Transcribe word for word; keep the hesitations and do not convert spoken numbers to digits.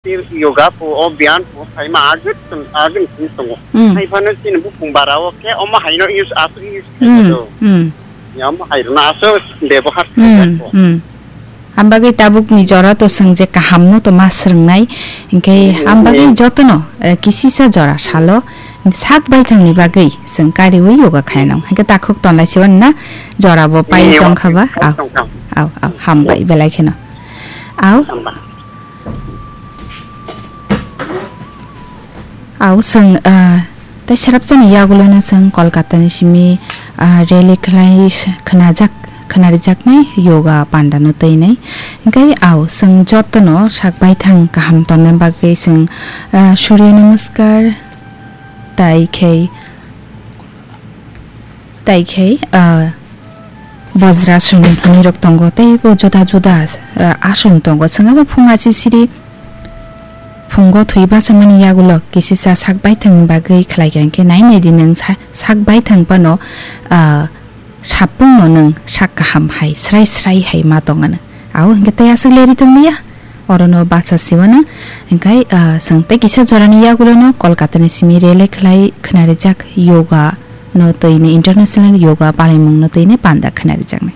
Yoga po, o biyam po, phaima agit, agit sini tongo. Hmm. Hai phano chini bukung bara o khe, omo hai no use, aso use Hmm, khaio. Hmm. Ya, omo hai no aso bebohar Hmm, khaio. Hmm. Ambagwi tabuk ni jora to swng je kaham no to ma swrwngnai, hinkhe Hmm, ambagwi hmm. jotono, eh, kisisa jora salo sak baithang ni bagwi swng kariwi yoga khainang. Hinkhe takhuk tonlai siwan na jora bo pai Hmm, tongkha ba? Au, tongkha. Au, au, hambai Hmm. belai kheno. Au. Hamba. Au, chwng, ah, tei sarapsani yagulono chwng Kolkata ni simi, ah, rally khlai s-, khnajak, khnarijaknai yoga panda no twi nai. Hinkhe au, chwng jotono sak baithang kaham tonna bagwi chwng, ah, Surya Namaskar, tai khe, tai khe, ah, Bajrasana hwnwi rok tongo, tei bo juda juda, ah, ason tongo. Chwng abo phung achi siri phungo thwi bachamani yagulo kisisa sak baithang bagwi khlai kha, hinkhe nai nai di nwng sa-, sak baithang phano, ah, sapungno nwng sak kaham hai, srai srai hai ma tong ano. Au hinkhe tei aswk leri tonglia? Orono bacha siwano, hinkhe, ah, chwng tei kisa jorani yagulono Kolkata ni simi rally khlai khnarijak yoga no twi ni international yoga palaimung no twi ni panda khnarijaknai.